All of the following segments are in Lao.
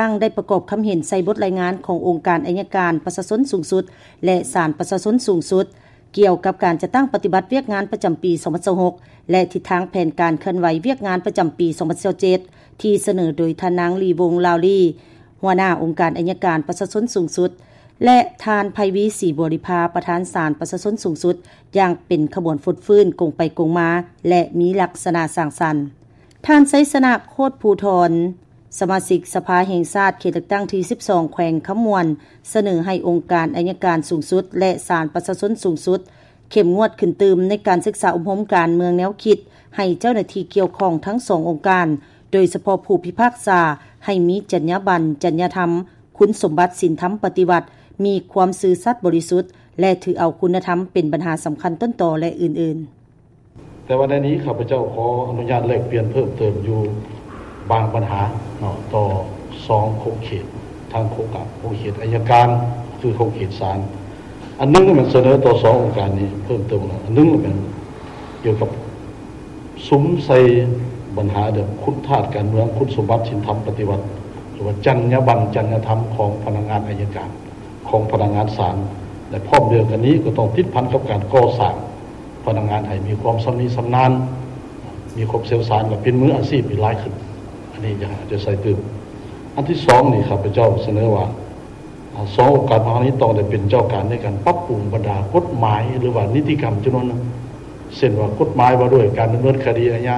ຕັ້ງໄດ້ປະກອບຄຳເຫັນໃສ່ບົດລາຍງານຂອງອົງການໄອຍະການປະຊາຊົນສູງສຸດ ແລະ ສານປະຊາຊົນສູງສຸດ ກ່ຽວກັບການຈັດຕັ້ງປະຕິບັດວຽກງານປະຈຳປີສອງພັນຊາວຫົກ ແລະ ທິດທາງແຜນການເຄື່ອນໄຫວວຽກງານປະຈຳປີສອງພັນຊາວເຈັດ ທີ່ສະເໜີໂດຍທ່ານນາງ ລີວົງ ລາວລີ ຫົວໜ້າອົງການໄອຍະການປະຊາຊົນສູງສຸດ ແລະ ທ່ານ ໄພວີ ສີບໍລິພາ ປະທານສານປະຊາຊົນສູງສຸດ ຢ່າງເປັນຂະບວນຟົດຟື້ນກົງໄປກົງມາ ແລະ ມີລັກສະນະສ້າງສັນ. ທ່ານ ໄຊຊະນະ ໂຄດພູທອນ ສະມາຊິກສະພາແຫ່ງຊາດເຂດເລືອກຕັ້ງທີສິບສອງ ແຂວງຄຳມ່ວນ ສະເໜີໃຫ້ອົງການໄອຍະການສູງສຸດ ແລະ ສານປະຊາຊົນສູງສຸດ ເຂັ້ມງວດຂຶ້ນຕື່ມໃນການສຶກສາອົບຮົມການເມືອງແນວຄິດ ໃຫ້ເຈົ້າໜ້າທີ່ກ່ຽວຂ້ອງທັງສອງອົງການ ໂດຍສະເພາະຜູ້ພິພາກສາ ໃຫ້ມີຈັນຍາບັນ, ຈັນຍາທຳ, ຄຸນສົມບັດ, ສິນທຳປະຕິວັດ, ມີຄວາມຊື່ສັດບໍລິສຸດ ແລະ ຖືເອົາຄຸນນະທຳເປັນບັນຫາສຳຄັນຕົ້ນຕໍ ແລະ ອື່ນໆ. ແຕ່ວ່າໃນນີ້ຂ້າພະເຈົ້າຂໍອະນຸຍາດແລກປ່ຽນເພີ່ມເຕີມຢູ່ບາງບັນຫາເນາະ ຕໍ່ສອງຂົງເຂດ ທາງຂົງການ ຂົງເຂດໄອຍະການ ຄືຂົງເຂດສານ. ອັນໜຶ່ງແມ່ນສະເໜີຕໍ່ສອງອົງການນີ້ເພີ່ມເຕີມ ອັນໜຶ່ງແມ່ນກ່ຽວກັບສຸມໃສ່ບັນຫາເລື່ອງຄຸນທາດການເມືອງ, ຄຸນສົມບັດສິນທຳປະຕິວັດ ຫຼືວ່າຈັນຍາບັນ, ຈັນຍາທຳຂອງພະນັກງານໄອຍະການ, ຂອງພະນັກງານສານ ແລະ ພ້ອມດຽວກັນນີ້ກໍຕ້ອງຕິດພັນກັບການກໍ່ສ້າງ ພະນັກງານໃຫ້ມີຄວາມຊຳນິຊຳນານ, ມີຄວາມຊ່ຽວຊານ ແລະ ເປັນມືອາຊີບໃຫ້ຫຼາຍຂຶ້ນ. ອັນນີ້ຢາກໃຫ້ເອົາໃຈໃສ່ຕື່ມ. ອັນທີສອງນີ້ ຂ້າພະເຈົ້າສະເໜີວ່າ ອາ ສອງອົງການພາກລັດນີ້ຕ້ອງໄດ້ເປັນເຈົ້າການໃນການປັບປຸງບັນດາກົດໝາຍ ຫຼືວ່ານິຕິກຳຈຳນວນໜຶ່ງ ເຊັ່ນວ່າກົດໝາຍວ່າດ້ວຍການດຳເນີນຄະດີອາຍາ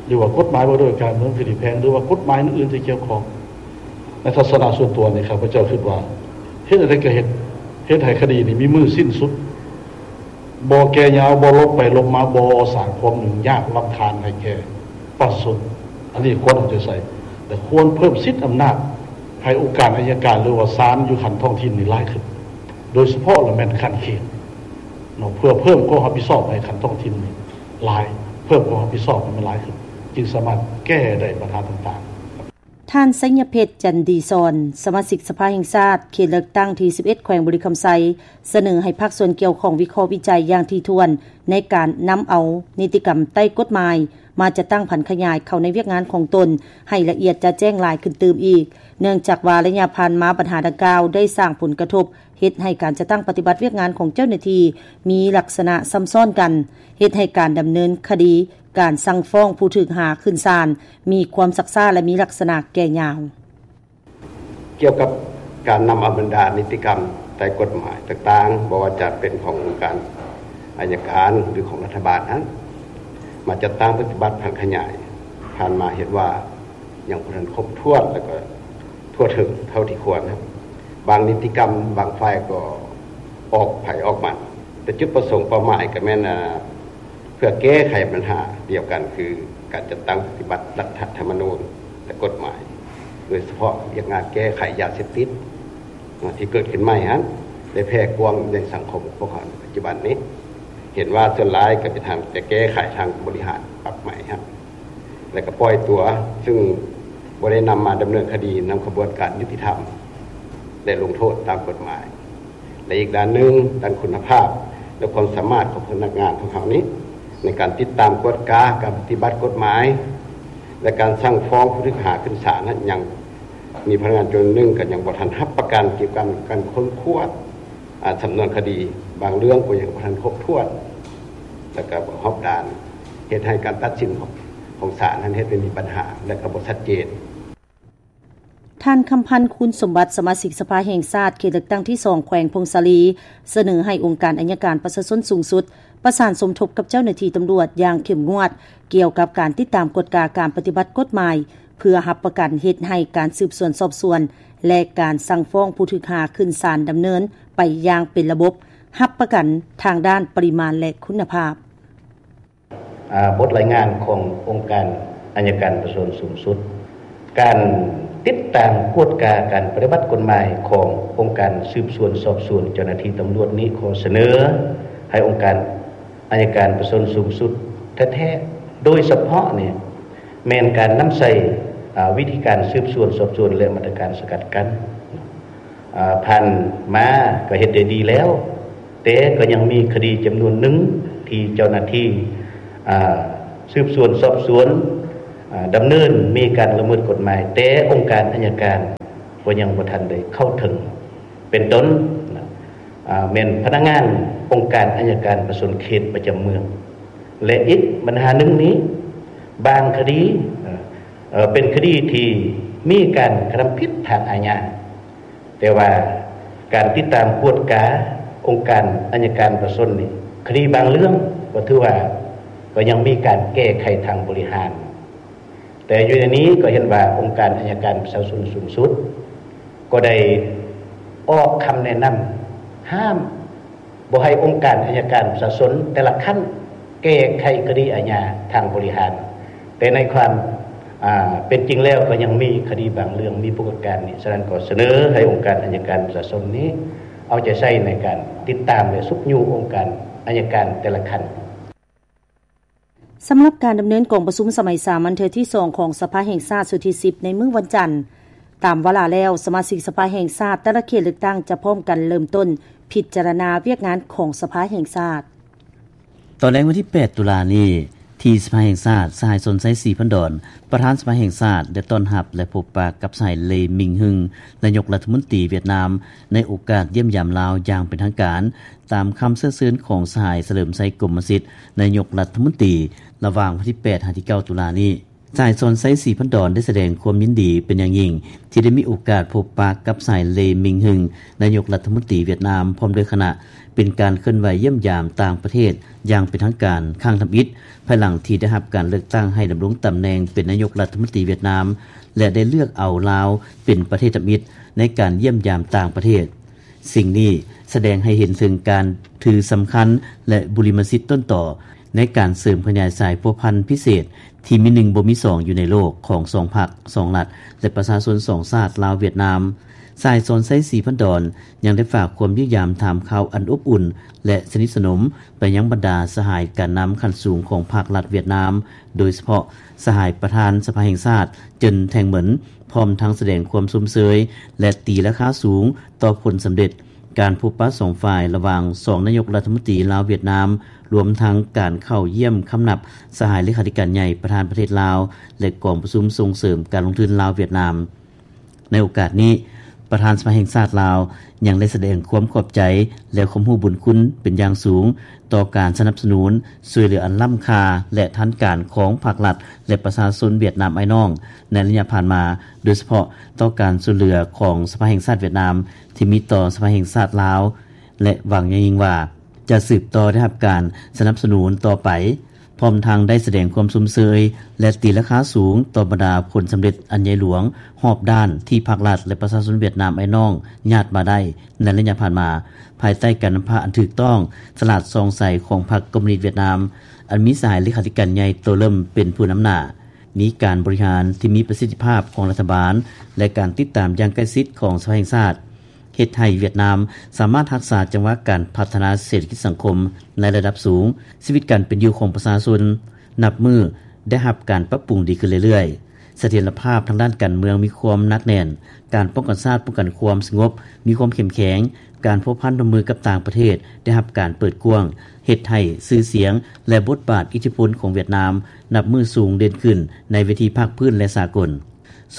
ຫຼືວ່າກົດໝາຍວ່າດ້ວຍການດຳເນີນຄະດີແພ່ງ ຫຼືວ່າກົດໝາຍອື່ນໆທີ່ກ່ຽວຂ້ອງ. ໃນທັດສະນະສ່ວນຕົວນີ້ ຂ້າພະເຈົ້າຄິດວ່າ ເຮັດອັນໃດກໍເຮັດ ເຮັດໃຫ້ຄະດີນີ້ມີມື້ສິ້ນສຸດ. ບໍ່ແກ່ຍາວ, ບໍ່ຫຼົບໄປຫຼົບມາ, ບໍ່ສ້າງຄວາມຫຍຸ້ງຍາກລຳຄານໃຫ້ແກ່ປະຊາຊົນ. ອັນນີ້ຄວນເອົາໃຈໃສ່ ແລະ ຄວນເພີ່ມສິດອຳນາດໃຫ້ອົງການໄອຍະການ ຫຼືວ່າສານຢູ່ຂັ້ນທ້ອງຖິ່ນນີ້ຫຼາຍຂຶ້ນ, ໂດຍສະເພາະລະແມ່ນຂັ້ນເຂດເນາະ, ເພື່ອເພີ່ມຄວາມຮັບຜິດຊອບໃຫ້ຂັ້ນທ້ອງຖິ່ນນີ້ຫຼາຍ, ເພີ່ມຄວາມຮັບຜິດຊອບໃຫ້ມັນຫຼາຍຂຶ້ນ, ຈຶ່ງສາມາດແກ້ໄດ້ບັນຫາຕ່າງໆ. ທ່ານ ໄຊຍະເພັດ ຈັນດີສອນ ສະມາຊິກສະພາແຫ່ງຊາດ ເຂດເລືອກຕັ້ງທີສິບເອັດ ແຂວງບໍລິຄຳໄຊ ສະເໜີໃຫ້ພາກສ່ວນກ່ຽວຂ້ອງວິເຄາະວິໄຈຢ່າງຖີ່ຖ້ວນ ໃນການນຳເອົານິຕິກຳໃຕ້ກົດໝາຍ ມາຈັດຕັ້ງຜັນຂະຫຍາຍເຂົ້າໃນວຽກງານຂອງຕົນ ໃຫ້ລະອຽດຈະແຈ້ງຫຼາຍຂຶ້ນຕື່ມອີກ, ເນື່ອງຈາກວ່າໄລຍະຜ່ານມາບັນຫາດັ່ງກ່າວໄດ້ສ້າງຜົນກະທົບ ເຮັດໃຫ້ການຈັດຕັ້ງປະຕິບັດວຽກງານຂອງເຈົ້າໜ້າທີ່ມີລັກສະນະຊ້ຳຊ້ອນກັນ, ເຮັດໃຫ້ການດຳເນີນຄະດີ, ການສັ່ງຟ້ອງຜູ້ຖືກຫາຂຶ້ນສານ ມີຄວາມຊັກຊ້າ ແລະ ມີລັກສະນະແກ່ຍາວ. ກ່ຽວກັບການນຳເອົາບັນດານິຕິກຳໃຕ້ກົດໝາຍຕ່າງໆ, ບໍ່ວ່າຈະເປັນຂອງອົງການໄອຍະການ ຫຼື ຂອງລັດຖະບານນັ້ນ ມາຈັດຕັ້ງປະຕິບັດຜັນຂະຫຍາຍ, ຜ່ານມາເຫັນວ່າຍັງບໍ່ທັນຄົບຖ້ວນ ແລະ ກໍທົ່ວເຖິງເທົ່າທີ່ຄວນ. ບາງນິຕິກຳ ບາງຝ່າຍກໍອອກໃຜອອກມັນ, ແຕ່ຈຸດປະສົງເປົ້າໝາຍກໍແມ່ນ ເພື່ອແກ້ໄຂບັນຫາດຽວກັນ ຄືການຈັດຕັ້ງປະຕິບັດລັດຖະທຳມະນູນ ແລະ ກົດໝາຍ, ໂດຍສະເພາະວຽກງານແກ້ໄຂຢາເສບຕິດ ທີ່ເກີດຂຶ້ນໃໝ່ຫັ້ນ ໄດ້ແຜ່ກວ້າງໃນສັງຄົມຂອງເຮົາໃນປັດຈຸບັນນີ້. ເຫັນວ່າສ່ວນຫຼາຍກໍເປັນທາງຈະແກ້ໄຂທາງບໍລິຫານປັບໃໝຫັ້ນ ແລະ ກໍປ່ອຍຕົວ, ຊຶ່ງບໍ່ໄດ້ນຳມາດຳເນີນຄະດີນຳຂະບວນການຍຸຕິທຳ ແລະ ລົງໂທດຕາມກົດໝາຍ. ແລະ ອີກດ້ານໜຶ່ງ, ດ້ານຄຸນນະພາບ ແລະ ຄວາມສາມາດຂອງພະນັກງານຂອງເຮົານີ້ ໃນການຕິດຕາມກວດກາການປະຕິບັດກົດໝາຍ ແລະ ການສັ່ງຟ້ອງຜູ້ຖືກຫາຂຶ້ນສານນັ້ນ ຍັງມີພະນັກງານຈຳນວນໜຶ່ງກໍຍັງບໍ່ທັນຮັບປະກັນກ່ຽວກັບການຄົ້ນຄວ້າ ອາ ສຳນວນຄະດີ, ບາງເລື່ອງກໍຍັງບໍ່ທັນຄົບຖ້ວນ ແລະ ກໍບໍ່ຮອບດ້ານ, ເຮັດໃຫ້ການຕັດສິນຂອງ ຂອງສານນັ້ນເຮັດໃຫ້ມີບັນຫາ ແລະ ກໍບໍ່ຊັດເຈນ. ທ່ານ ຄຳພັນ ຄູນສົມບັດ ສະມາຊິກສະພາແຫ່ງຊາດ ເຂດເລືອກຕັ້ງທີສອງ ແຂວງຜົ້ງສາລີ ສະເໜີໃຫ້ອົງການໄອຍະການປະຊາຊົນສູງສຸດ ປະສານສົມທົບກັບເຈົ້າໜ້າທີ່ຕຳຫຼວດຢ່າງເຂັ້ມງວດ ກ່ຽວກັບການຕິດຕາມກວດກາການປະຕິບັດກົດໝາຍ ເພື່ອຮັບປະກັນເຮັດໃຫ້ການສືບສວນສອບສວນ ແລະ ການສັ່ງຟ້ອງຜູ້ຖືກຫາຂຶ້ນສານດຳເນີນໄປຢ່າງເປັນລະບົບ, ຮັບປະກັນທາງດ້ານປະລິມານ ແລະ ຄຸນນະພາບ. ອາ ບົດລາຍງານຂອງອົງການໄອຍະການປະຊາຊົນສູງສຸດ, ການຕິດຕາມກວດກາການປະຕິບັດກົດໝາຍຂອງອົງການສືບສວນສອບສວນເຈົ້າໜ້າທີ່ຕຳຫຼວດນີ້ ຂໍສະເໜີໃຫ້ອົງການໄອຍະການປະຊາຊົນສູງສຸດແທ້ໆ, ໂດຍສະເພາະນີ້ແມ່ນການນຳໃຊ້ ອາ ວິທີການສືບສວນສອບສວນ ແລະ ມາດຕະການສະກັດກັ້ນ. ອາ ຜ່ານມາກໍເຮັດໄດ້ດີແລ້ວ, ແຕ່ກໍຍັງມີຄະດີຈຳນວນໜຶ່ງທີ່ເຈົ້າໜ້າທີ່ ອາ ສືບສວນສອບສວນ ດຳເນີນມີການລະເມີດກົດໝາຍ ແຕ່ອົງການອັຍການກໍຍັງບໍ່ທັນໄດ້ເຂົ້າເຖິງ ເປັນຕົ້ນ ແມ່ນພະນັກງານອົງການອັຍການປະຊາຊົນເຂດປະຈຳເມືອງ ແລະອີກບັນຫາໜຶ່ງນີ້ ບາງຄະດີເປັນຄະດີທີ່ມີການກະທຳຜິດທາງອາຍາ ແຕ່ວ່າການຕິດຕາມກວດກາອົງການອັຍການປະຊາຊົນນີ້ ຄະດີບາງເລື່ອງກໍຖືວ່າ ກໍຍັງມີການແກ້ໄຂທາງບໍລິຫານ ແຕ່ຢູ່ໃນນີ້ກໍເຫັນວ່າອົງການອັຍການປະຊາຊົນສູງສຸດ ກໍໄດ້ອອກຄຳແນະນຳຫ້າມບໍ່ໃຫ້ອົງການອັຍການປະຊາຊົນແຕ່ລະຂັ້ນ ແກ້ໄຂຄະດີອາຍາທາງບໍລິຫານ ແຕ່ໃນຄວາມເປັນຈິງແລ້ວ ກໍຍັງມີຄະດີບາງເລື່ອງມີປົກກະການນີ້ ສະນັ້ນກໍສະເໜີໃຫ້ອົງການອັຍການປະຊາຊົນນີ້ ເອົາໃຈໃສ່ໃນການຕິດຕາມ ແລະຊຸກຍູ້ອົງການອັຍການແຕ່ລະຂັ້ນ. ສຳລັບການດຳເນີນກອງປະຊຸມສະໄໝສາມັນເທື່ອທີສອງຂອງສະພາແຫ່ງຊາດຊຸດທີສິບໃນມື້ວັນຈັນ ຕາມວາລະແລ້ວ ສະມາຊິກສະພາແຫ່ງຊາດແຕ່ລະເຂດເລືອກຕັ້ງຈະພ້ອມກັນເລີ່ມຕົ້ນພິຈາລະນາວຽກງານຂອງສະພາແຫ່ງຊາດ. ຕອນແລງວັນທີແປດຕຸລານີ້ ທີ່ສະພາແຫ່ງຊາດ ສະຫາຍ ສອນໄຊ ສີພັນດອນ ປະທານສະພາແຫ່ງຊາດ ໄດ້ຕ້ອນຮັບ ແລະພົບປະກັບສະຫາຍ ເລ ມິງຮຶງ ນາຍົກລັດຖະມົນຕີຫວຽດນາມ ໃນໂອກາດຢ້ຽມຢາມລາວຢ່າງເປັນທາງການ ຕາມຄຳເຊື້ອເຊີນຂອງສະຫາຍ ສະເຫຼີມໄຊ ກົມມະສິດ ນາຍົກລັດຖະມົນຕີ ລະຫວ່າງວັນທີແປດຫາທີເກົ້າຕຸລານີ້. ສະຫາຍ ສອນໄຊ ສີພັນດອນ ໄດ້ສະແດງຄວາມຍິນດີເປັນຢ່າງຍິ່ງ ທີ່ໄດ້ມີໂອກາດພົບປະກັບສະຫາຍ ເລ ມິງຮຶງ ນາຍົກລັດຖະມົນຕີຫວຽດນາມ ພ້ອມດ້ວຍຄະນະ ເປັນການເຄື່ອນໄຫວຢ້ຽມຢາມຕ່າງປະເທດຢ່າງເປັນທາງການຄັ້ງທຳອິດ ພາຍຫຼັງທີ່ໄດ້ຮັບການເລືອກຕັ້ງໃຫ້ດຳລົງຕຳແໜ່ງເປັນນາຍົກລັດຖະມົນຕີຫວຽດນາມ ແລະໄດ້ເລືອກເອົາລາວເປັນປະເທດທຳອິດໃນການຢ້ຽມຢາມຕ່າງປະເທດ. ສິ່ງນີ້ສະແດງໃຫ້ເຫັນເຖິງການຖືສຳຄັນ ແລະບຸລິມະສິດຕົ້ນຕໍໃນການເສີມຂະຫຍາຍສາຍພົວພັນພິເສດທີ່ມີໜຶ່ງບໍ່ມີສອງຢູ່ໃນໂລກຂອງສອງພັກ, ສອງລັດ ແລະປະຊາຊົນສອງຊາດລາວ-ຫວຽດນາມ. ສະຫາຍ ສອນໄຊ ສີພັນດອນ ຍັງໄດ້ຝາກຄວາມຢ້ຽມຢາມຖາມຂ່າວອັນອົບອຸ່ນ ແລະສະໜິດສະໜົມໄປຍັງບັນດາສະຫາຍການນຳຂັ້ນສູງຂອງພັກລັດຫວຽດນາມ ໂດຍສະເພາະສະຫາຍປະທານສະພາແຫ່ງຊາດ ເຈິນ ແທງເໝິນ ພ້ອມທັງສະແດງຄວາມຊົມເຊີຍ ແລະຕີລາຄາສູງຕໍ່ຜົນສຳເລັດການພົບປະສອງຝ່າຍລະຫວ່າງສອງນາຍົກລັດຖະມົນຕີລາວ-ຫວຽດນາມ ລວມທັງການເຂົ້າຢ້ຽມຄຳນັບສະຫາຍເລຂາທິການໃຫຍ່ປະທານປະເທດລາວ ແລະກອງປະຊຸມສົ່ງເສີມການລົງທຶນລາວ-ຫວຽດນາມ. ໃນໂອກາດນີ້ ປະທານສະພາແຫ່ງຊາດລາວ ຍັງໄດ້ສະແດງຄວາມຂອບໃຈ ແລະຄວາມຮູ້ບຸນຄຸນເປັນຢ່າງສູງ ຕໍ່ການສະໜັບສະໜູນ ຊ່ວຍເຫຼືອອັນລ້ຳຄ່າ ແລະທັນການຂອງພັກລັດ ແລະປະຊາຊົນຫວຽດນາມອ້າຍນ້ອງໃນໄລຍະຜ່ານມາ ໂດຍສະເພາະຕໍ່ການຊ່ວຍເຫຼືອຂອງສະພາແຫ່ງຊາດຫວຽດນາມ ທີ່ມີຕໍ່ສະພາແຫ່ງຊາດລາວ ແລະຫວັງຢ່າງຍິ່ງວ່າ ຈະສືບຕໍ່ໄດ້ຮັບການສະໜັບສະໜູນຕໍ່ໄປ ພ້ອມທັງໄດ້ສະແດງຄວາມຊົມເຊີຍ ແລະຕີລາຄາສູງຕໍ່ບັນດາຜົນສຳເລັດອັນໃຫຍ່ຫຼວງຮອບດ້ານທີ່ພັກລັດ ແລະປະຊາຊົນຫວຽດນາມອ້າຍນ້ອງຍາດມາໄດ້ໃນໄລຍະຜ່ານມາ ພາຍໃຕ້ການນຳພາອັນຖືກຕ້ອງ, ສະຫຼາດສ່ອງໃສຂອງພັກຄອມມູນິດຫວຽດນາມ ອັນມີສະຫາຍເລຂາທິການໃຫຍ່ ໂຕ ເລິ້ມ ເປັນຜູ້ນຳໜ້າ, ມີການບໍລິຫານທີ່ມີປະສິດທິພາບຂອງລັດຖະບານ ແລະການຕິດຕາມຢ່າງໃກ້ຊິດຂອງສະພາແຫ່ງຊາດ ເຮັດໃຫ້ຫວຽດນາມສາມາດຮັກສາຈັງຫວະການພັດທະນາເສດຖະກິດສັງຄົມໃນລະດັບສູງ, ຊີວິດການເປັນຢູ່ຂອງປະຊາຊົນນັບມື້ໄດ້ຮັບການປັບປຸງດີຂຶ້ນເລື້ອຍໆ, ສະຖຽນລະພາບທາງດ້ານການເມືອງມີຄວາມໜັກແໜ້ນ, ການປ້ອງກັນຊາດປ້ອງກັນຄວາມສະຫງົບມີຄວາມເຂັ້ມແຂງ, ການພົວພັນຮ່ວມມືກັບຕ່າງປະເທດໄດ້ຮັບການເປີດກວ້າງ, ເຮັດໃຫ້ຊື່ສຽງ ແລະ ບົດບາດອິດທິພົນຂອງຫວຽດນາມນັບມື້ສູງເດັ່ນຂຶ້ນໃນເວທີພາກພື້ນ ແລະ ສາກົນ.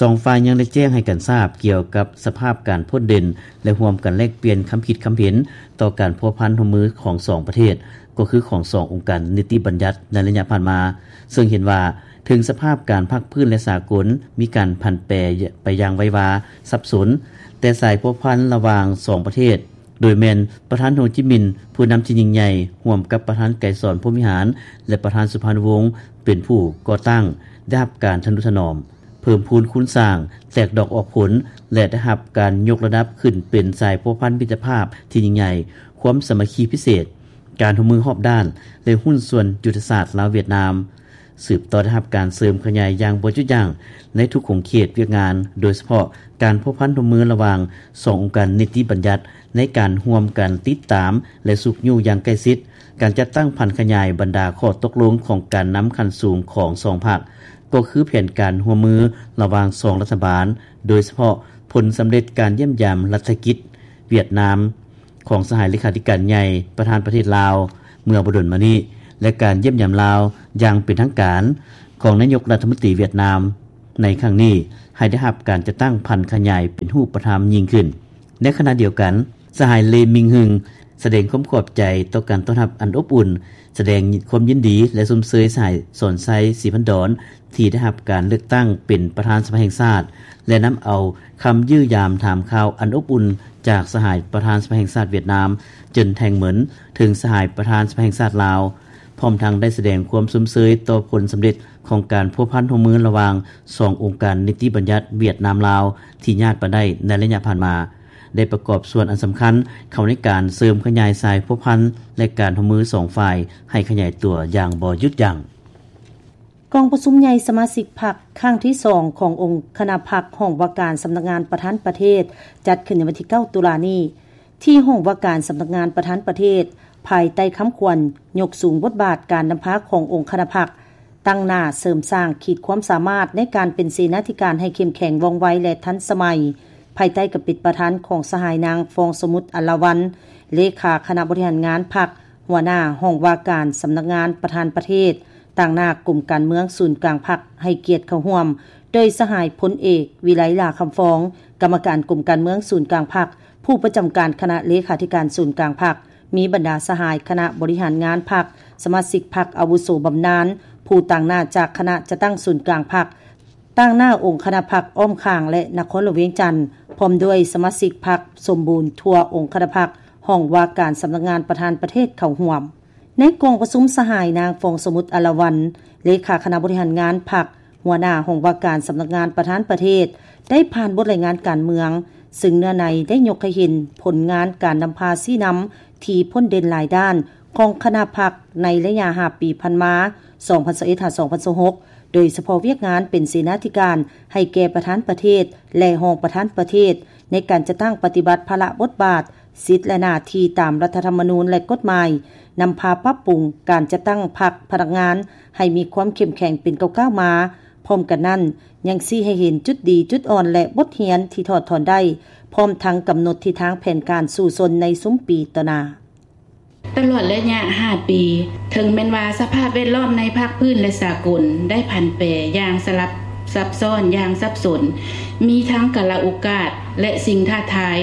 ສອງຝ່າຍຍັງໄດ້ແຈ້ງໃຫ້ກັນຊາບກ່ຽວກັບສະພາບການພົ້ນເດັ່ນ ແລະ ຮ່ວມກັນແລກປ່ຽນຄຳຄິດຄຳເຫັນຕໍ່ການພົວພັນຮ່ວມມືຂອງສອງປະເທດ, ກໍຄືຂອງສອງອົງການນິຕິບັນຍັດໃນໄລຍະຜ່ານມາ, ເຊິ່ງເຫັນວ່າເຖິງສະພາບການພາກພື້ນ ແລະ ສາກົນມີການຜັນແປໄປຢ່າງໄວວາ, ສັບສົນ, ແຕ່ສາຍພົວພັນລະຫວ່າງສອງປະເທດ ໂດຍແມ່ນປະທານໂຮຈິມິນ ຜູ້ນຳທີ່ຍິ່ງໃຫຍ່ ຮ່ວມກັບປະທານໄກສອນ ພົມວິຫານ ແລະ ປະທານສຸພານຸວົງ ເປັນຜູ້ກໍ່ຕັ້ງ ໄດ້ຮັບການທະນຸຖະໜອມ, ເພີ່ມພູນຄູນສ້າງ, ແຕກດອກອອກຜົນ ແລະ ໄດ້ຮັບການຍົກລະດັບຂຶ້ນເປັນສາຍພົວພັນມິດຕະພາບທີ່ຍິ່ງໃຫຍ່, ຄວາມສາມັກຄີພິເສດ, ການຮ່ວມມືຮອບດ້ານ ແລະ ຫຸ້ນສ່ວນຍຸດທະສາດລາວ-ຫວຽດນາມ, ສືບຕໍ່ໄດ້ຮັບການເສີມຂະຫຍາຍຢ່າງບໍ່ຢຸດຢັ້ງໃນທຸກຂົງເຂດວຽກງານ, ໂດຍສະເພາະການພົວພັນຮ່ວມມືລະຫວ່າງສອງອົງການນິຕິບັນຍັດ ໃນການຮ່ວມກັນຕິດຕາມ ແລະ ຊຸກຍູ້ຢ່າງໃກ້ຊິດການຈັດຕັ້ງຜັນຂະຫຍາຍບັນດາຂໍ້ຕົກລົງຂອງການນຳຂັ້ນສູງຂອງສອງພັກ, ກໍຄືແຜນການຮ່ວມມືລະຫວ່າງສອງລັດຖະບານ, ໂດຍສະເພາະຜົນສຳເລັດການຢ້ຽມຢາມລັດຖະກິດຫວຽດນາມ ຂອງສະຫາຍເລຂາທິການໃຫຍ່ປະທານປະເທດລາວເມື່ອບໍ່ດົນມານີ້ ແລະ ການຢ້ຽມຢາມລາວຢ່າງເປັນທາງການ ຂອງນາຍົກລັດຖະມົນຕີຫວຽດນາມໃນຄັ້ງນີ້ ໃຫ້ໄດ້ຮັບການຈັດຕັ້ງຜັນຂະຫຍາຍເປັນຮູບປະທຳຍິ່ງຂຶ້ນ. ໃນຂະນະດຽວກັນ, ສະຫາຍ ເລ ມິງຮຶງ ສະແດງຄວາມຂອບໃຈຕໍ່ການຕ້ອນຮັບອັນອົບອຸ່ນ, ສະແດງຄວາມຍິນດີ ແລະ ຊົມເຊີຍສະຫາຍ ສອນໄຊ ສີພັນດອນ ທີ່ໄດ້ຮັບການເລືອກຕັ້ງເປັນປະທານສະພາແຫ່ງຊາດ ແລະ ນຳເອົາຄຳຢ້ຽມຢາມຖາມຂ່າວອັນອົບອຸ່ນຈາກສະຫາຍປະທານສະພາແຫ່ງຊາດຫວຽດນາມ ເຈິນ ແທງເໝິນ ເຖິງສະຫາຍປະທານສະພາແຫ່ງຊາດລາວ, ພ້ອມທັງໄດ້ສະແດງຄວາມຊົມເຊີຍຕໍ່ຜົນສຳເລັດຂອງການພົວພັນຮ່ວມມືລະຫວ່າງສອງອົງການນິຕິບັນຍັດຫວຽດນາມ-ລາວ ທີ່ຍາດມາໄດ້ໃນໄລຍະຜ່ານມາ, ໄດ້ປະກອບສ່ວນອັນສຳຄັນເຂົ້າໃນການເສີມຂະຫຍາຍສາຍພົວພັນ ແລະ ການຮ່ວມມືສອງຝ່າຍໃຫ້ຂະຫຍາຍຕົວຢ່າງບໍ່ຢຸດຢັ້ງ. ກອງປະຊຸມໃຫຍ່ສະມາຊິກພັກຄັ້ງທີສອງຂອງອົງຄະນະພັກຫ້ອງວ່າການສຳນັກງານປະທານປະເທດ ຈັດຂຶ້ນໃນວັນທີເກົ້າ ຕຸລານີ້ ທີ່ຫ້ອງວ່າການສຳນັກງານປະທານປະເທດ ພາຍໃຕ້ຄຳຂວັນ ຍົກສູງບົດບາດການນຳພາຂອງອົງຄະນະພັກ, ຕັ້ງໜ້າເສີມສ້າງຂີດຄວາມສາມາດໃນການເປັນເສນາທິການໃຫ້ເຂັ້ມແຂງ ວ່ອງໄວ ແລະ ທັນສະໄໝ, ພາຍໃຕ້ການເປັນປະທານຂອງສະຫາຍນາງ ຟອງສະໝຸດ ອັນລາວັນ ເລຂາຄະນະບໍລິຫານງານພັກ, ຫົວໜ້າຫ້ອງວ່າການສຳນັກງານປະທານປະເທດ, ຕາງໜ້າກົມການເມືອງສູນກາງພັກໃຫ້ກຽດເຂົ້າຮ່ວມ, ໂດຍສະຫາຍພົນເອກ ວິໄລ ຫຼ້າຄຳຟອງ ກຳມະການກົມການເມືອງສູນກາງພັກ, ຜູ້ປະຈຳການຄະນະເລຂາທິການສູນກາງພັກ, ມີບັນດາສະຫາຍຄະນະບໍລິຫານງານພັກ, ສະມາຊິກພັກອາວຸໂສບຳນານ, ຜູ້ຕາງໜ້າຈາກຄະນະຈັດຕັ້ງສູນກາງພັກ, ຕາງໜ້າອົງຄະນະພັກອ້ອມຂ້າງ ແລະ ນະຄອນຫຼວງວຽງຈັນ, ພ້ອມດ້ວຍສະມາຊິກພັກສົມບູນທົ່ວອົງຄະນະພັກ, ຫ້ອງວ່າການສຳນັກງານປະທານປະເທດເຂົ້າຮ່ວມ. ໃນກອງປະຊຸມ, ສະຫາຍນາງ ຟອງສະໝຸດ ອາລາວັນ ເລຂາຄະນະບໍລິຫານງານພັກ, ຫົວໜ້າຫ້ອງວ່າການສຳນັກງານປະທານປະເທດ ໄດ້ຜ່ານບົດລາຍງານການເມືອງ, ເຊິ່ງເນື້ອໃນໄດ້ຍົກໃຫ້ເຫັນຜົນງານການນຳພາຊີ້ນຳທີ່ພົ້ນເດັ່ນຫຼາຍດ້ານຂອງຄະນະພັກໃນໄລຍະຫ້າປີຜ່ານມາ ສອງພັນຊາວເອັດ ຫາ ສອງພັນຊາວຫົກ ໂດຍສະເພາະວຽກງານເປັນເສນາທິການໃຫ້ແກ່ປະທານປະເທດ ແລະ ຮອງປະທານປະເທດ ໃນການຈັດຕັ້ງປະຕິບັດພາລະບົດບາດ, ສິດ ແລະ ໜ້າທີ່ຕາມລັດຖະທຳມະນູນ ແລະ ກົດໝາຍ, ນຳພາປັບປຸງການຈັດຕັ້ງພັກພະນັກງານໃຫ້ມີຄວາມເຂັ້ມແຂງເປັນກ້າວໆມາ. ພ້ອມກັນນັ້ນ, ຍັງຊີ້ໃຫ້ເຫັນຈຸດດີ, ຈຸດອ່ອນ ແລະ ບົດຮຽນທີ່ຖອດຖອນໄດ້, ພ້ອມທັງກຳນົດທິດທາງແຜນການສູ້ຊົນໃນຊຸມປີຕໍ່ໜ້າ. ຕະຫຼອດໄລຍະຫ້າປີ, ເຖິງແມ່ນວ່າສະພາບແວດລ້ອມໃນພາກພື້ນ ແລະ ສາກົນໄດ້ຜັນແປຢ່າງສະຫຼັບ ຊັບຊ້ອນຢ່າງສັບສົນ, ມີທັງກາລະໂອກາດ ແລະ ສິ່ງທ້າທາຍ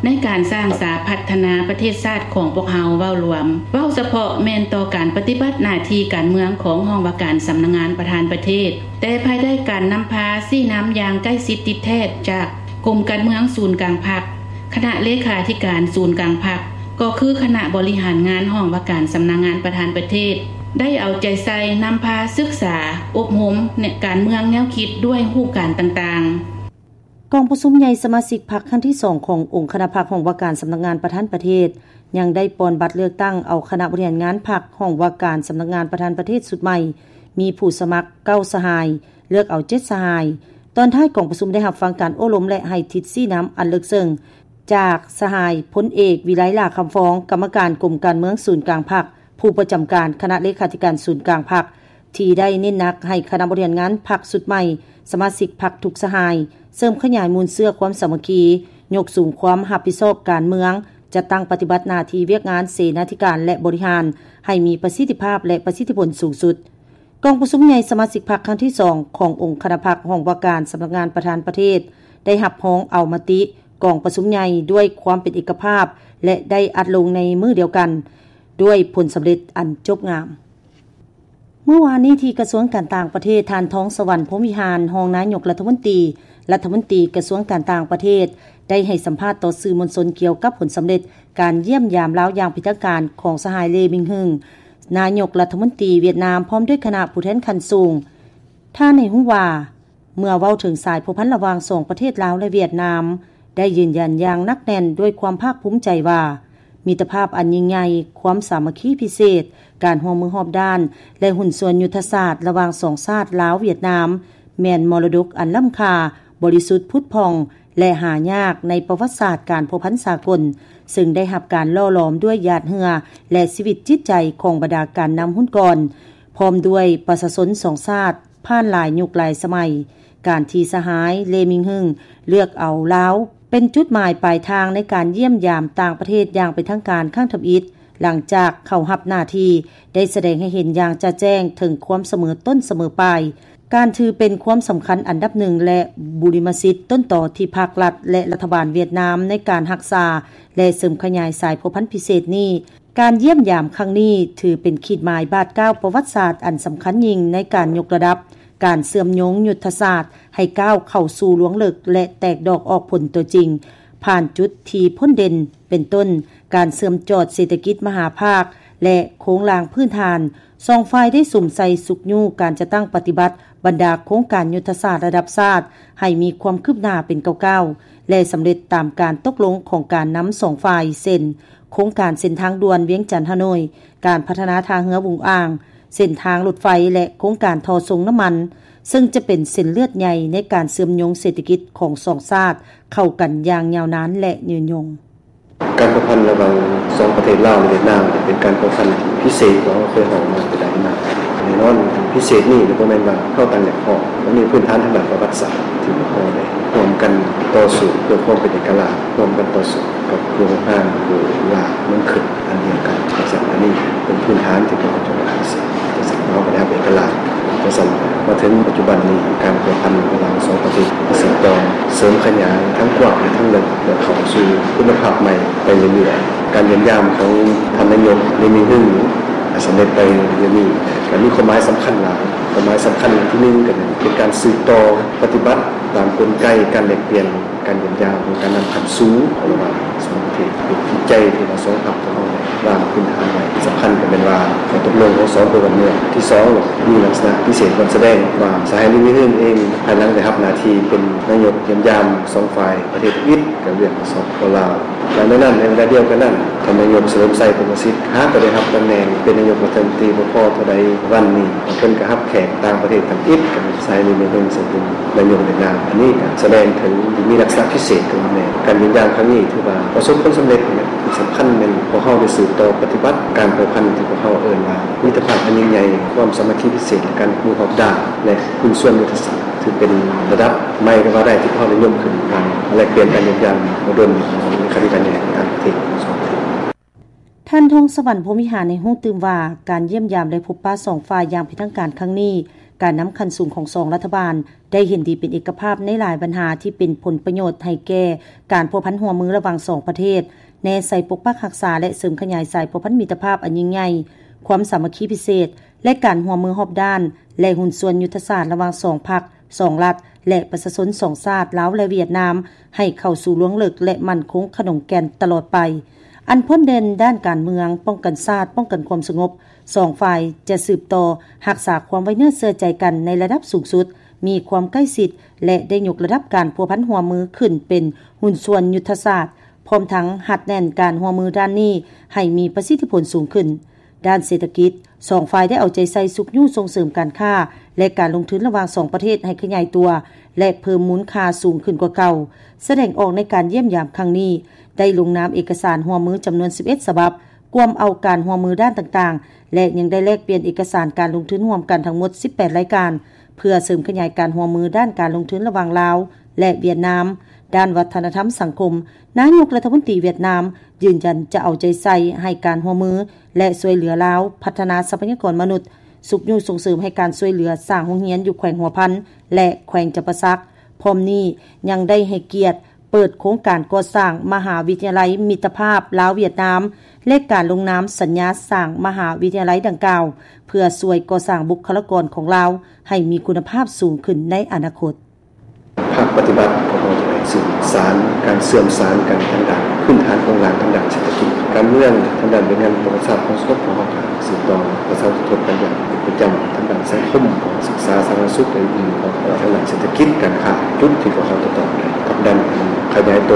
ໃນການສ້າງສາພັດທະນາປະເທດຊາດຂອງພວກເຮົາເວົ້າລວມ, ເວົ້າສະເພາະແມ່ນຕໍ່ການປະຕິບັດໜ້າທີ່ການເມືອງຂອງຫ້ອງວ່າການສຳນັກງານປະທານປະເທດ, ແຕ່ພາຍໃຕ້ການນຳພາຊີ້ນຳຢ່າງໃກ້ຊິດຕິດແທດຈາກກົມການເມືອງສູນກາງພັກ, ຄະນະເລຂາທິການສູນກາງພັກ, ກໍຄືຄະນະບໍລິຫານງານຫ້ອງວ່າການສຳນັກງານປະທານປະເທດ ໄດ້ເອົາໃຈໃສ່ນຳພາສຶກສາ, ອົບຮົມການເມືອງແນວຄິດດ້ວຍຮູບການຕ່າງໆ. ກອງປະຊຸມໃຫຍ່ສະມາຊິກພັກຄັ້ງທີສອງຂອງອົງຄະນະພັກຫ້ອງວ່າການສຳນັກງານປະທານປະເທດ ຍັງໄດ້ປ່ອນບັດເລືອກຕັ້ງເອົາຄະນະບໍລິຫານງານພັກຫ້ອງວ່າການສຳນັກງານປະທານປະເທດຊຸດໃໝ່, ມີຜູ້ສະໝັກເກົ້າສະຫາຍ, ເລືອກເອົາເຈັດສະຫາຍ. ຕອນທ້າຍກອງປະຊຸມໄດ້ຮັບຟັງການໂອ້ລົມ ແລະ ໃຫ້ທິດຊີ້ນຳອັນເລິກເຊິ່ງ ຈາກສະຫາຍພົນເອກ ວິໄລ ຫຼ້າຄຳຟອງ ກຳມະການກົມການເມືອງສູນກາງພັກ, ຜູ້ປະຈຳການຄະນະເລຂາທິການສູນກາງພັກ ທີ່ໄດ້ເນັ້ນໜັກໃຫ້ຄະນະບໍລິຫານງານພັກຊຸດໃໝ່, ສະມາຊິກພັກທຸກສະຫາຍ ເສີມຂະຫຍາຍມູນເຊື້ອຄວາມສາມັກຄີ, ຍົກສູງຄວາມຮັບຜິດຊອບການເມືອງ, ຈັດຕັ້ງປະຕິບັດໜ້າທີ່ວຽກງານເສນາທິການ ແລະ ບໍລິຫານ ໃຫ້ມີປະສິດທິພາບ ແລະ ປະສິດທິຜົນສູງສຸດ. ກອງປະຊຸມໃຫຍ່ສະມາຊິກພັກຄັ້ງທີສອງຂອງອົງຄະນະພັກຫ້ອງວ່າການສຳນັກງານປະທານປະເທດ ໄດ້ຮັບຮອງເອົາມະຕິກອງປະຊຸມໃຫຍ່ດ້ວຍຄວາມເປັນເອກະພາບ ແລະ ໄດ້ອັດລົງໃນມື້ດຽວກັນ ດ້ວຍຜົນສຳເລັດອັນຈົບງາມ. ມື້ວານນີ້ທີ່ກະຊວງການຕ່າງປະເທດ, ທ່ານ ທອງສະຫວັນ ພົມວິຫານ ຮອງນາຍົກລັດຖະມົນຕີ, ລັດຖະມົນຕີກະຊວງການຕ່າງປະເທດ ໄດ້ໃຫ້ສຳພາດຕໍ່ສື່ມວນຊົນກ່ຽວກັບຜົນສຳເລັດການຢ້ຽມຢາມລາວຢ່າງເປັນທາງການຂອງສະຫາຍ ເລ ມິງຮຶງ ນາຍົກລັດຖະມົນຕີຫວຽດນາມ ພ້ອມດ້ວຍຄະນະຜູ້ແທນຂັ້ນສູງ. ທ່ານໃຫ້ຮູ້ວ່າ ເມື່ອເວົ້າເຖິງສາຍພົວພັນລະຫວ່າງສອງປະເທດລາວ ແລະ ຫວຽດນາມ ໄດ້ຢືນຢັນຢ່າງໜັກແໜ້ນດ້ວຍຄວາມພາກພູມໃຈວ່າ ມິດຕະພາບອັນຍິ່ງໃຫຍ່, ຄວາມສາມັກຄີພິເສດ, ການຮ່ວມມືຮອບດ້ານ ແລະ ຫຸ້ນສ່ວນຍຸດທະສາດລະຫວ່າງສອງຊາດລາວ-ຫວຽດນາມ ແມ່ນມໍລະດົກອັນລ້ຳຄ່າ, ບໍລິສຸດ, ຜຸດຜ່ອງ ແລະ ຫາຍາກໃນປະຫວັດສາດການພົວພັນສາກົນ, ເຊິ່ງໄດ້ຮັບການຫຼໍ່ຫຼອມດ້ວຍຫຍາດເຫື່ອ ແລະ ຊີວິດຈິດໃຈຂອງບັນດາການນຳຮຸ່ນກ່ອນ ພ້ອມດ້ວຍປະຊາຊົນສອງຊາດ ຜ່ານຫຼາຍຍຸກຫຼາຍສະໄໝ. ການທີ່ສະຫາຍ ເລ ມິງຮຶງ ເລືອກເອົາລາວເປັນຈຸດໝາຍປາຍທາງໃນການຢ້ຽມຢາມຕ່າງປະເທດຢ່າງເປັນທາງການຄັ້ງທຳອິດ ຫຼັງຈາກເຂົ້າຮັບໜ້າທີ່ ໄດ້ສະແດງໃຫ້ເຫັນຢ່າງຈະແຈ້ງເຖິງຄວາມສະເໝີຕົ້ນສະເໝີປາຍ, ການຖືເປັນຄວາມສຳຄັນອັນດັບໜຶ່ງ ແລະ ບຸລິມະສິດຕົ້ນຕໍທີ່ພັກລັດ ແລະ ລັດຖະບານຫວຽດນາມໃນການຮັກສາ ແລະ ເສີມຂະຫຍາຍສາຍພົວພັນພິເສດນີ້. ການຢ້ຽມຢາມຄັ້ງນີ້ຖືເປັນຂີດໝາຍບາດກ້າວປະຫວັດສາດອັນສຳຄັນຍິ່ງໃນການຍົກລະດັບການເຊື່ອມໂຍງຍຸດທະສາດໃຫ້ກ້າວເຂົ້າສູ່ລວງເລິກ ແລະ ແຕກດອກອອກຜົນຕົວຈິງ ຜ່ານຈຸດທີ່ພົ້ນເດັ່ນ ເປັນຕົ້ນ ການເຊື່ອມຈອດເສດຖະກິດມະຫາພາກ ແລະ ໂຄງລ່າງພື້ນຖານ. ສອງຝ່າຍໄດ້ສຸມໃສ່ຊຸກຍູ້ການຈັດຕັ້ງປະຕິບັດບັນດາໂຄງການຍຸດທະສາດລະດັບຊາດໃຫ້ມີຄວາມຄືບໜ້າເປັນກ້າວໆ ແລະ ສຳເລັດຕາມການຕົກລົງຂອງການນຳສອງຝ່າຍ ເຊັ່ນ ໂຄງການເສັ້ນທາງດ່ວນວຽງຈັນ-ຮ່າໂນ້ຍ, ການພັດທະນາທ່າເຮືອຫວຸງອ່າງ, ເສັ້ນທາງລົດໄຟ ແລະ ໂຄງການທໍ່ສົ່ງນ້ຳມັນ, ເຊິ່ງຈະເປັນເສັ້ນເລືອດໃຫຍ່ໃນການເຊື່ອມໂຍງເສດຖະກິດຂອງສອງຊາດເຂົ້າກັນຢ່າງຍາວນານ ແລະ ຍືນຍົງ. ການພົວພັນລະຫວ່າງສອງປະເທດລາວ ແລະ ຫວຽດນາມ ເປັນການພົວພັນທີ່ພິເສດກວ່າເຮົາເຄີຍເວົ້າມາແຕ່ໃດມາ. ແນ່ນອນ ພິເສດນີ້ບໍ່ແມ່ນວ່າເຮົາຕ່າງຢາກພ້ອມ, ມັນມີພື້ນຖານທາງດ້ານປະຫວັດສາດທີ່ພວກເຮົາໄດ້ຮ່ວມກັນຕໍ່ສູ້ເພື່ອຄວາມເປັນເອກະລາດ, ຮ່ວມກັນຕໍ່ສູ້ກັບພວກຮ້າງຜູ້ລ່າເມືອງຂຶ້ນ ອັນດຽວກັນ. ຈັ່ງຊັ້ນ ອັນນີ້ເປັນພື້ນຖານທີ່ພວກເຮົາຈະມາເສດ. ຈັ່ງຊັ້ນ ເຮົາກໍໄດ້ຮັບເອກະລາດ. ຈັ່ງຊັ້ນ ມາເຖິງປັດຈຸບັນນີ້ ການພົວພັນລະຫວ່າງສອງປະເທດສືບຕໍ່ເສີມຂະຫຍາຍທັງກວ້າງ ແລະ ທັງເລິກ ແລະ ເຂົ້າສູ່ຄຸນນະພາບໃໝ່ໄປເລື້ອຍໆ. ການຢ້ຽມຢາມຂອງທ່ານນາຍົກ ລີ ມິນຮຶງ ສຳເລັດໄປດຽວນີ້ ກໍມີຄວາມໝາຍສຳຄັນຫຼາຍ. ຄວາມໝາຍສຳຄັນທີໜຶ່ງ ກໍແມ່ນເປັນການສືບຕໍ່ປະຕິບັດຕາມກົນໄກການແລກປ່ຽນ ການຢ້ຽມຢາມຂອງການນຳຂັ້ນສູງລະຫວ່າງສອງປະເທດ ເປັນຈິດໃຈທີ່ວ່າສອງພັກຂອງເຮົາວາງພື້ນຖານໄວ້. ສຳຄັນກໍແມ່ນວ່າຂໍ້ຕົກລົງຂອງສອງພົນລະເມືອງ. ທີສອງ ມີລັກສະນະພິເສດບ່ອນສະແດງວ່າ ສະຫາຍ ລີ ມິນຮຶງ ເອງ ພາຍຫຼັງໄດ້ຮັບໜ້າທີ່ເປັນນາຍົກຢ້ຽມຢາມສອງຝ່າຍປະເທດທຳອິດ ກັບວຽດ ແລະ ສປປ ລາວ. ແລະ ໃນນັ້ນ ໃນເວລາດຽວກັນນັ້ນ ທ່ານນາຍົກ ສະເຫຼີມໄຊ ພົມມະສິດ ຫາກໍໄດ້ຮັບຕຳແໜ່ງເປັນນາຍົກລັດຖະມົນຕີບໍ່ພໍເທົ່າໃດວັນນີ້ ເພິ່ນກໍຮັບແຂກຕ່າງປະເທດທຳອິດ ກັບສະຫາຍ ລີ ມິນຮຶງ ເຊິ່ງເປັນນາຍົກຫວຽດນາມ. ອັນນີ້ກໍສະແດງເຖິງມີລັກສະນະພິເສດຂອງແມ່. ການຢ້ຽມຢາມຄັ້ງນີ້ຖືວ່າປະສົບຜົນສຳເລັດ. ສຳຄັນແມ່ນພວກເຮົາໄດ້ສືບຕໍ່ປະຕິບັດການພົວພັນທີ່ພວກເຮົາເອີ້ນວ່າ ມິດຕະພາບອັນຍິ່ງໃຫຍ່, ຄວາມສາມັກຄີພິເສດ ແລະ ການຮ່ວມມືຮອບດ້ານ ແລະ ຫຸ້ນສ່ວນຍຸດທະສາດ. ຖືເປັນລະດັບໃໝ່ກໍວ່າໄດ້ທີ່ພວກເຮົາໄດ້ຍົກຂຶ້ນ ການແລກປ່ຽນການຢ້ຽມຢາມບໍ່ດົນຂອງເລຂາທິການໃຫຍ່ຕ່າງປະເທດຂອງສອງປະເທດ. ທ່ານ ທອງສະຫວັນ ພົມວິຫານ ໃຫ້ຮູ້ຕື່ມວ່າ ການຢ້ຽມຢາມ ແລະ ພົບປະສອງຝ່າຍຢ່າງເປັນທາງການຄັ້ງນີ້ ການນຳຂັ້ນສູງຂອງສອງລັດຖະບານໄດ້ເຫັນດີເປັນເອກະພາບໃນຫຼາຍບັນຫາທີ່ເປັນຜົນປະໂຫຍດໃຫ້ແກ່ການພົວພັນຮ່ວມມືລະຫວ່າງສອງປະເທດ, ແນໃສ່ປົກປັກຮັກສາ ແລະ ເສີມຂະຫຍາຍສາຍພົວພັນມິດຕະພາບອັນຍິ່ງໃຫຍ່, ຄວາມສາມັກຄີພິເສດ ແລະ ການຮ່ວມມືຮອບດ້ານ ແລະ ຫຸ້ນສ່ວນຍຸດທະສາດລະຫວ່າງສອງພັກ, ສອງລັດ ແລະ ປະຊາຊົນສອງຊາດ ລາວ ແລະ ຫວຽດນາມ ໃຫ້ເຂົ້າສູ່ລວງເລິກ ແລະ ໝັ້ນຄົງຂະໜົງແກ່ນຕະຫຼອດໄປ. ອັນພົ້ນເດັ່ນດ້ານການເມືອງ, ປ້ອງກັນຊາດ, ປ້ອງກັນຄວາມສະຫງົບ, ສອງຝ່າຍຈະສືບຕໍ່ຮັກສາຄວາມໄວ້ເນື້ອເຊື່ອໃຈກັນໃນລະດັບສູງສຸດ, ມີຄວາມໃກ້ຊິດ ແລະ ໄດ້ຍົກລະດັບການພົວພັນຮ່ວມມືຂຶ້ນເປັນຫຸ້ນສ່ວນຍຸດທະສາດ, ພ້ອມທັງຮັດແໜ້ນການຮ່ວມມືດ້ານນີ້ໃຫ້ມີປະສິດທິຜົນສູງຂຶ້ນ. ດ້ານເສດຖະກິດ, ສອງຝ່າຍໄດ້ເອົາໃຈໃສ່ຊຸກຍູ້ສົ່ງເສີມການຄ້າ ແລະ ການລົງທຶນລະຫວ່າງສອງປະເທດໃຫ້ຂະຫຍາຍຕົວ ແລະ ເພີ່ມມູນຄ່າສູງຂຶ້ນກວ່າເກົ່າ. ສະແດງອອກໃນການຢ້ຽມຢາມຄັ້ງນີ້, ໄດ້ລົງນາມເອກະສານຮ່ວມມືຈຳນວນສິບເອັດສະບັບ, ກວມເອົາການຮ່ວມມືດ້ານຕ່າງໆ ແລະ ຍັງໄດ້ແລກປ່ຽນເອກະສານການລົງທຶນຮ່ວມກັນທັງໝົດສິບແປດລາຍການ ເພື່ອເສີມຂະຫຍາຍການຮ່ວມມືດ້ານການລົງທຶນລະຫວ່າງລາວ ແລະ ຫວຽດນາມ. ດ້ານວັດທະນະທຳສັງຄົມ, ນາຍົກລັດຖະມົນຕີຫວຽດນາມຢືນຢັນຈະເອົາໃຈໃສ່ໃຫ້ການຮ່ວມມື ແລະ ຊ່ວຍເຫຼືອລາວພັດທະນາຊັບພະຍາກອນມະນຸດ, ຊຸກຍູ້ສົ່ງເສີມໃຫ້ການຊ່ວຍເຫຼືອສ້າງໂຮງຮຽນຢູ່ແຂວງຫົວພັນ ແລະ ແຂວງຈຳປາສັກ. ພ້ອມນີ້ຍັງໄດ້ໃຫ້ກຽດເປີດໂຄງການກໍ່ສ້າງມະຫາວິທະຍາໄລມິດຕະພາບລາວ-ຫວຽດນາມ ແລະ ການລົງນາມສັນຍາສ້າງມະຫາວິທະຍາໄລດັ່ງກ່າວ ເພື່ອຊ່ວຍກໍ່ສ້າງບຸກຄະລາກອນຂອງລາວໃຫ້ມີຄຸນນະພາບສູງຂຶ້ນໃນອະນາຄົດ. ພາກປະຕິບັດຂອງເຮົາຈະໄດ້ສືບສານການເຊື່ອມສານກັນທາງດ້ານພື້ນຖານໂຄງລ່າງທາງດ້ານເສດຖະກິດ, ການເມືອງ, ທາງດ້ານວຽກງານປະຫວັດສາດຂອງສັງຄົມຂອງເຮົາ, ການສືບຕໍ່ປະຊາອຸທົກກັນຢ່າງເປັນປະຈຳ, ທາງດ້ານສັງຄົມ, ການສຶກສາ, ສາທາລະນະສຸກ ແລະ ອື່ນໆ, ທາງດ້ານເສດຖະກິດ, ການຄ້າ, ຈຸດທີ່ພວກເຮົາຈະຕ້ອງໄດ້ຜັກດັນຂະຫຍາຍໂຕ,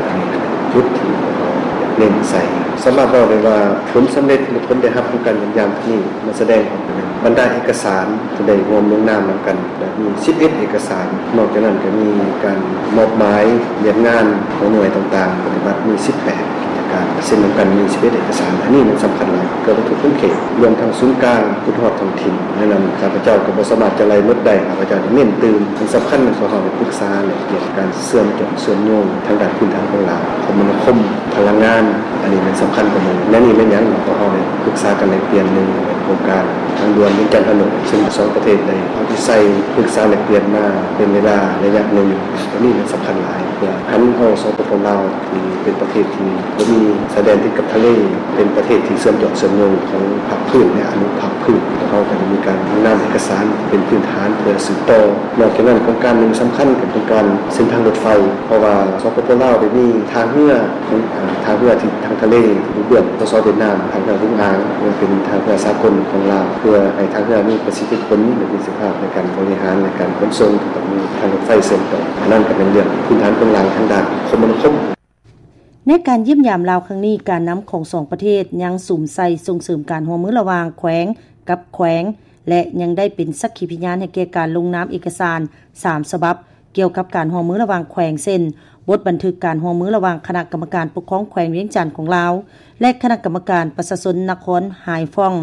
ອັນນີ້ແຫຼະຈຸດທີ່ພວກເຮົາເນັ້ນໃສ່. ສາມາດເວົ້າໄດ້ວ່າຜົນສຳເລັດ ຫຼື ຜົນໄດ້ຮັບຂອງການຢ້ຽມຢາມຄັ້ງນີ້ ມັນສະແດງອອກເປັນບັນດາເອກະສານທີ່ໄດ້ຮ່ວມລົງນາມນຳກັນ ແລະ ມີສິບເອັດເອກະສານ. ນອກຈາກນັ້ນກໍມີການມອບໝາຍວຽກງານຂອງໜ່ວຍຕ່າງໆປະຕິບັດມີສິບແປດກິດຈະ ການເຊັນນຳກັນມີສິບເອັດເອກະສານ ອັນນີ້ມັນສຳຄັນຫຼາຍ ເພື່ອວັດຖຸຂົງເຂດ ລວມທັງສູນກາງ ຈົນຮອດທ້ອງຖິ່ນ. ດັ່ງນັ້ນ ຂ້າພະເຈົ້າກໍບໍ່ສາມາດຈະໄລ່ໝົດໄດ້ ຂ້າພະເຈົ້າເນັ້ນຕື່ມ. ອັນສຳຄັນແມ່ນພວກເຮົາໄດ້ປຶກສາເລື່ອງການເຊື່ອມຈອງເຊື່ອມໂຍງທາງດ້ານພື້ນຖານຂອງລາວ, ຄົມມະນາຄົມ, ພະລັງງານ, ອັນນີ້ແມ່ນສຳຄັນກວ່າໝູ່. ແນວນີ້ແມ່ນຫຍັງ? ພວກເຮົາໄດ້ປຶກສາກັນແລກປ່ຽນ ໜຶ່ງແມ່ນໂຄງການທາງດ່ວນວຽງຈັນ-ພະນົມ ເຊິ່ງສອງປະເທດໄດ້ເອົາໃຈໃສ່ປຶກສາແລກປ່ຽນມາເປັນເວລາໄລຍະໜຶ່ງ. ອັນນີ້ແມ່ນສຳຄັນຫຼາຍ ເພື່ອຫັນເອົາ ສປປ ລາວ ທີ່ເປັນປະເທດທີ່ບໍ່ມີຊາຍແດນຕິດກັບທະເລ, ເປັນປະເທດທີ່ເຊື່ອມຈອງເຊື່ອມໂຍງຂອງພາກພື້ນ ແລະ ອະນຸພາກພື້ນ. ພວກເຮົາກໍໄດ້ມີການລົງນາມເອກະສານເປັນພື້ນຖານເພື່ອສືບຕໍ່. ນອກຈາກນັ້ນ ໂຄງການໜຶ່ງສຳຄັນ ເປັນໂຄງການເສັ້ນທາງລົດໄຟ, ເພາະວ່າ ສປປ ລາວ ໄດ້ມີທ່າເຮືອຂອງ ເອີ ທ່າເຮືອທີ່ທາງທະເລທີ່ຢູ່ເບື້ອງ ສສ ຫວຽດນາມ, ທ່າເຮືອຮຸງອ່າງ, ເພື່ອເປັນທ່າເຮືອສາກົນຂອງລາວ, ເພື່ອໃຫ້ທ່າເຮືອມີປະສິດທິຜົນ ແລະ ປະສິດທິພາບໃນການບໍລິຫານ ໃນການຂົນສົ່ງ, ຕ້ອງມີທາງລົດໄຟເຊື່ອມຕໍ່. ອັນນັ້ນກໍເປັນເລື່ອງພື້ນຖານໂຄງລ່າງທາງດ້ານຄົມມະນາຄົມ. ໃນການຢ້ຽມຢາມລາວຄັ້ງນີ້, ການນຳຂອງສອງປະເທດຍັງສຸມໃສ່ສົ່ງເສີມການຮ່ວມມືລະຫວ່າງແຂວງກັບແຂວງ ແລະ ຍັງໄດ້ເປັນສັກຂີພະຍານໃຫ້ແກ່ການລົງນາມເອກະສານສາມສະບັບ ກ່ຽວກັບການຮ່ວມມືລະຫວ່າງແຂວງ ເຊັ່ນ ບົດບັນທຶກການຮ່ວມມືລະຫວ່າງຄະນະກຳມະການປົກຄອງແຂວງວຽງຈັນຂອງລາວ ແລະ ຄະນະກຳມະການປະຊາຊົນນະຄອນຮາຍຟອງ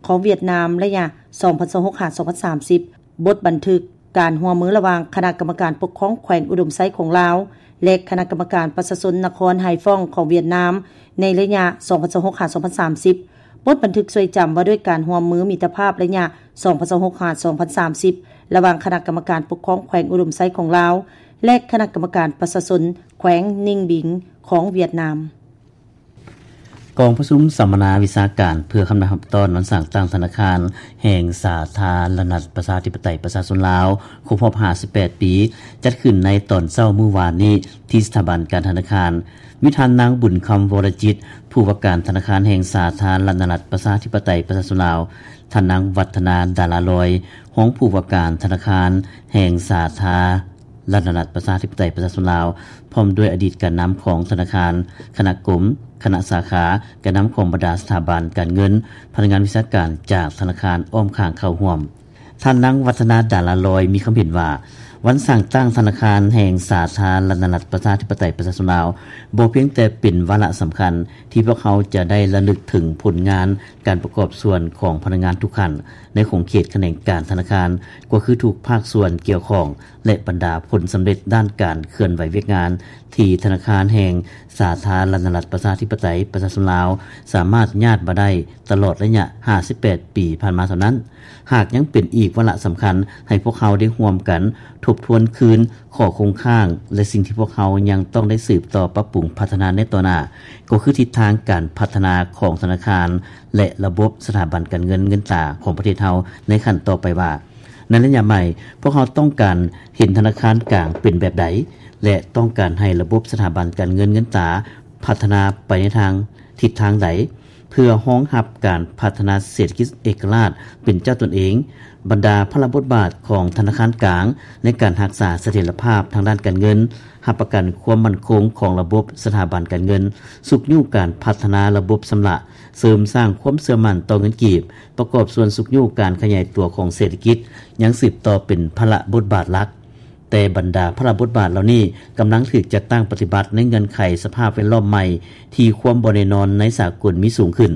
ຂອງຫວຽດນາມ ໄລຍະສອງພັນຊາວຫົກ ຫາ ສອງພັນສາມສິບ, ບົດບັນທຶກການຮ່ວມມືລະຫວ່າງຄະນະກຳມະການປົກຄອງແຂວງອຸດົມໄຊຂອງລາວ ແລະ ຄະນະກຳມະການປະຊາຊົນນະຄອນຮາຍຟອງຂອງຫວຽດນາມ ໃນໄລຍະສອງພັນຊາວຫົກ ຫາ ສອງພັນສາມສິບ, ບົດບັນທຶກຊ່ວຍຈຳວ່າດ້ວຍການຮ່ວມມືມິດຕະພາບໄລຍະສອງພັນຊາວຫົກ ຫາ ສອງພັນສາມສິບ ລະຫວ່າງຄະນະກຳມະການປົກຄອງແຂວງອຸດົມໄຊຂອງລາວ ແລະ ຄະນະກຳມະການປະຊາຊົນແຂວງນິງບິງຂອງຫວຽດນາມ. ກອງປະຊຸມສຳມະນາວິຊາການເພື່ອຄຳນັບຮັບຕ້ອນວັນສ້າງຕັ້ງທະນາຄານແຫ່ງສາທາລະນະລັດປະຊາທິປະໄຕປະຊາຊົນລາວ ຄົບຮອບຫ້າສິບແປດປີ ຈັດຂຶ້ນໃນຕອນເຊົ້າມື້ວານນີ້ ທີ່ສະຖາບັນການທະນາຄານ. ມີທ່ານນາງ ບຸນຄຳ ວໍລະຈິດ ຜູ້ວ່າການທະນາຄານແຫ່ງສາທາລະນະລັດປະຊາທິປະໄຕປະຊາຊົນລາວ, ທ່ານນາງ ວັດທະນາ ດາລາລອຍ ຮອງຜູ້ວ່າການທະນາຄານແຫ່ງສາທາ ລະນະລັດປະຊາທິປະໄຕປະຊາຊົນລາວ ພ້ອມດ້ວຍອະດີດການນຳຂອງທະນາຄານ, ຄະນະກົມ, ຄະນະສາຂາ, ການນຳຂອງບັນດາສະຖາບັນການເງິນ, ພະນັກງານວິຊາການຈາກທະນາຄານອ້ອມຂ້າງເຂົ້າຮ່ວມ. ທ່ານນາງ ວັດທະນາ ດາລາລອຍ ມີຄຳເຫັນວ່າ ວັນສ້າງຕັ້ງທະນາຄານແຫ່ງສາທາລະນະລັດປະຊາທິປະໄຕປະຊາຊົນລາວ ບໍ່ພຽງແຕ່ເປັນວາລະສຳຄັນທີ່ພວກເຮົາຈະໄດ້ລະລຶກເຖິງຜົນງານການປະກອບສ່ວນຂອງພະນັກງານທຸກຂັ້ນໃນຂົງເຂດຂະແໜງການທະນາຄານ ກໍຄືທຸກພາກສ່ວນກ່ຽວຂ້ອງ ແລະ ບັນດາຜົນສຳເລັດດ້ານການເຄື່ອນໄຫວວຽກງານ ທີ່ທະນາຄານແຫ່ງສາທາລະນະລັດປະຊາທິປະໄຕປະຊາຊົນລາວ ສາມາດຍາດມາໄດ້ຕະຫຼອດໄລຍະຫ້າສິບແປດປີຜ່ານມາເທົ່ານັ້ນ. ຫາກຍັງເປັນອີກວາລະສຳຄັນໃຫ້ພວກເຮົາໄດ້ຮ່ວມກັນທົບທວນຄືນຂໍ້ຄົງຄ້າງ ແລະ ສິ່ງທີ່ພວກເຮົາຍັງຕ້ອງໄດ້ສືບຕໍ່ປັບປຸງພັດທະນາໃນຕໍ່ໜ້າ ກໍຄືທິດທາງການພັດທະນາຂອງທະນາຄານ ແລະ ລະບົບສະຖາບັນການເງິນເງິນຕາຂອງປະເທດເຮົາໃນຂັ້ນຕໍ່ໄປວ່າ ໃນໄລຍະໃໝ່, ພວກເຮົາຕ້ອງການເຫັນທະນາຄານກາງເປັນແບບໃດ ແລະ ຕ້ອງການໃຫ້ລະບົບສະຖາບັນການເງິນເງິນຕາພັດທະນາໄປໃນທາງ ທິດທາງໃດ ເພື່ອຮອງຮັບການພັດທະນາເສດຖະກິດເອກະລາດເປັນເຈົ້າຕົນເອງ, ບັນດາພາລະບົດບາດຂອງທະນາຄານກາງໃນການຮັກສາສະຖຽນລະພາບທາງດ້ານການເງິນ, ຮັບປະກັນຄວາມໝັ້ນຄົງຂອງລະບົບສະຖາບັນການເງິນ, ຊຸກຍູ້ການພັດທະນາລະບົບຊຳລະ, ເສີມສ້າງຄວາມເຊື່ອໝັ້ນຕໍ່ເງິນກີບ, ປະກອບສ່ວນຊຸກຍູ້ການຂະຫຍາຍຕົວຂອງເສດຖະກິດ ຍັງສືບຕໍ່ເປັນພາລະບົດບາດຫຼັກ. ແຕ່ບັນດາພາລະບົດບາດເຫຼົ່ານີ້ກຳລັງຖືກຈັດຕັ້ງປະຕິບັດໃນເງື່ອນໄຂສະພາບແວດລ້ອມໃໝ່ທີ່ຄວາມບໍ່ແນ່ນອນໃນສາກົນມີສູງຂຶ້ນ,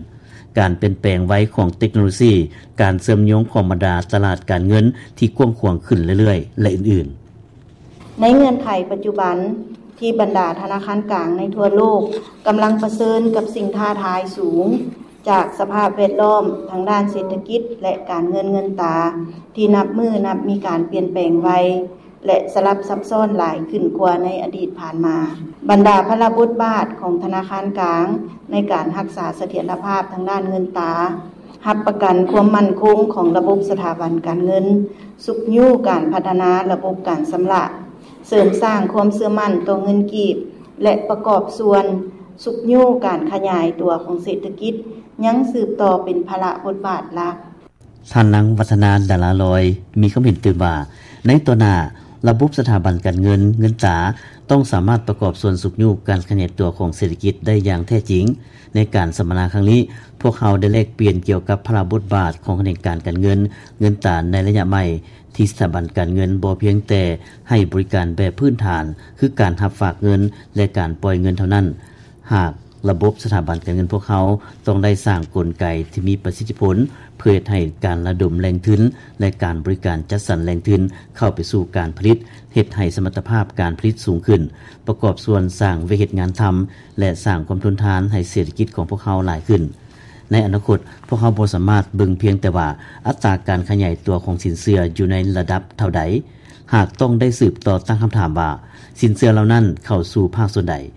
ການປ່ຽນແປງໄວຂອງເຕັກໂນໂລຊີ, ການເຊື່ອມໂຍງຂອງບັນດາຕະຫຼາດການເງິນທີ່ກວ້າງຂວາງຂຶ້ນເລື້ອຍໆ ແລະ ອື່ນໆ. ໃນເງື່ອນໄຂປັດຈຸບັນທີ່ບັນດາທະນາຄານກາງໃນທົ່ວໂລກກຳລັງປະເຊີນກັບສິ່ງທ້າທາຍສູງ ຈາກສະພາບແວດລ້ອມທາງດ້ານເສດຖະກິດ ແລະ ການເງິນເງິນຕາ ທີ່ນັບມື້ນັບມີການປ່ຽນແປງໄວ ແລະ ສະຫຼັບຊັບຊ້ອນຫຼາຍຂຶ້ນກວ່າໃນອະດີດຜ່ານມາ. ບັນດາພາລະບົດບາດຂອງທະນາຄານກາງໃນການຮັກສາສະຖຽນລະພາບທາງດ້ານເງິນຕາ, ຮັບປະກັນຄວາມໝັ້ນຄົງຂອງລະບົບສະຖາບັນການເງິນ, ຊຸກຍູ້ການພັດທະນາລະບົບການຊຳລະ, ເສີມສ້າງຄວາມເຊື່ອໝັ້ນຕໍ່ເງິນກີບ ແລະ ປະກອບສ່ວນຊຸກຍູ້ການຂະຫຍາຍຕົວຂອງເສດຖະກິດ ຍັງສືບຕໍ່ເປັນພາລະບົດບາດຫຼັກ. ທ່ານນາງ ວັດທະນາ ດາລາລອຍ ມີຄວາມເຫັນຕື່ມວ່າ ໃນຕໍ່ໜ້າ, ລະບົບສະຖາບັນການເງິນເງິນຕາ ຕ້ອງສາມາດປະກອບສ່ວນຊຸກຍູ້ການຂະຫຍາຍຕົວຂອງເສດຖະກິດໄດ້ຢ່າງແທ້ຈິງ. ໃນການສຳມະນາຄັ້ງນີ້, ພວກເຮົາໄດ້ແລກປ່ຽນກ່ຽວກັບພາລະບົດບາດຂອງຂະແໜງການການເງິນເງິນຕາໃນໄລຍະໃໝ່ ທີ່ສະຖາບັນການເງິນບໍ່ພຽງແຕ່ໃຫ້ບໍລິການແບບພື້ນຖານ ຄືການຮັບຝາກເງິນ ແລະ ການປ່ອຍເງິນເທົ່ານັ້ນ, ຫາກ ລະບົບສະຖາບັນການເງິນພວກເຮົາຕ້ອງໄດ້ສ້າງກົນໄກທີ່ມີປະສິດທິຜົນ ເພື່ອເຮັດໃຫ້ການລະດົມແຫຼ່ງທຶນ ແລະ ການບໍລິການຈັດສັນແຫຼ່ງທຶນເຂົ້າໄປສູ່ການຜະລິດ ເຮັດໃຫ້ສະມັດຕະພາບການຜະລິດສູງຂຶ້ນ, ປະກອບສ່ວນສ້າງວຽກເຮັດງານທຳ ແລະ ສ້າງຄວາມທົນທານໃຫ້ເສດຖະກິດຂອງພວກເຮົາຫຼາຍຂຶ້ນ. ໃນອະນາຄົດ, ພວກເຮົາບໍ່ສາມາດເບິ່ງພຽງແຕ່ວ່າອັດຕາການຂະຫຍາຍຕົວຂອງສິນເຊື່ອຢູ່ໃນລະດັບເທົ່າໃດ, ຫາກຕ້ອງໄດ້ສືບຕໍ່ຕັ້ງຄຳຖາມວ່າ ສິນເຊື່ອເຫຼົ່ານັ້ນເຂົ້າສູ່ພາກສ່ວນໃດ?